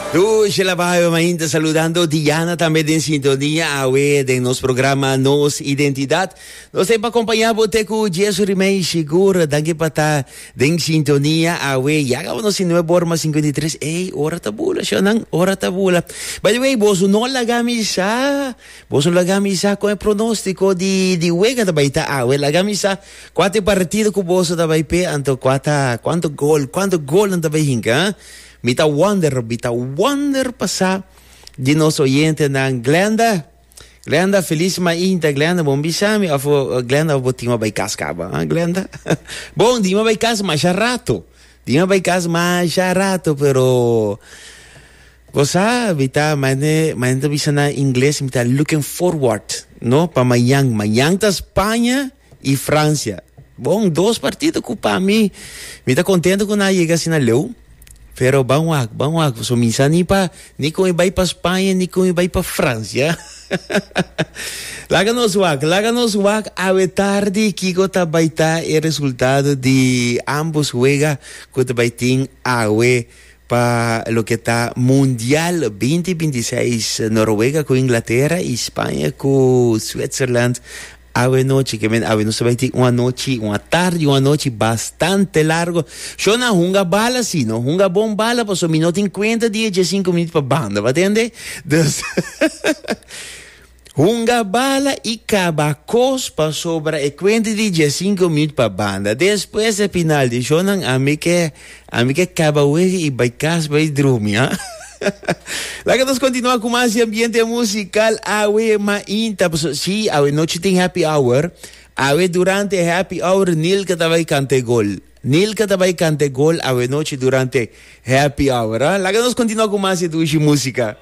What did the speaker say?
Dushi Labayo mainta saludando Diana tambe den sintonia awe den nos programa Nos Identidad. Nos ta pa acompaña bo te cu Jesu Rimei sigur. Danki pa ta den sintonia awe. Ya gaba nos sin 9 ora mas 53. Ey, ora ta bula, shonan, ora ta bula. By the way, boso no laga mi sa. Boso laga mi sa con e pronostico di di wega ta bay ta awe. Laga mi sa cua ta e partido cu boso ta bay pe anto cua ta cuanto gol, cuanto gol nan ta bay hinca, ha? Mi ta wonder, mi ta wonder pa sa di nos oyentenan. Glenda, Glenda, feliz mainta, Glenda, bon bisa mi of Glenda of bo tin a bay cas caba, ha Glenda? Bon, di mi a bay cas masha rato. Di mi a bay cas masha rato, pero bo sa, mi ta, mane, mane ta bisa na ingles, mi ta looking forward, no, pa mañan. Mañan ta Spaña y Francia. Bon, dos partido cu pa mi, mi ta contento cu nan a yega asina leu. Pero ban wak, ban wak, pasobra mi sa ni pa, ni con e bai pa Spaña, ni con e bai pa Francia. Laga nos wak, laga nos wak awe tardi kico ta bai ta e resultado di ambos wega cu ta bai tin awe pa loke ta Mundial 2026, Noruega cu Inglaterra y Spaña cu Switzerland. Awe nochi, ke men awe nos ta bai tin un anochi, un atardi, un anochi bastante largo. Shona hunga bala si, no hunga bon bala pasobra mi no tin kuenta di e diesinku minüt pa banda, bo a tende? Dus hunga bala i kaba kos pasobra e kuenta di diesinku minüt pa banda. Despues e final di shownan ami ke ami ke kaba wega i bai kas bai drumi, ha. Laga nos continua cu mas di ambiente musical awe mainta. Paso, sí, awe nochi tin happy hour. Awe durante happy hour Nilka ta bai canta e gol. Nilka ta bai canta e gol awe nochi durante happy hour. Ah? Laga nos continua cu mas di dushi musica.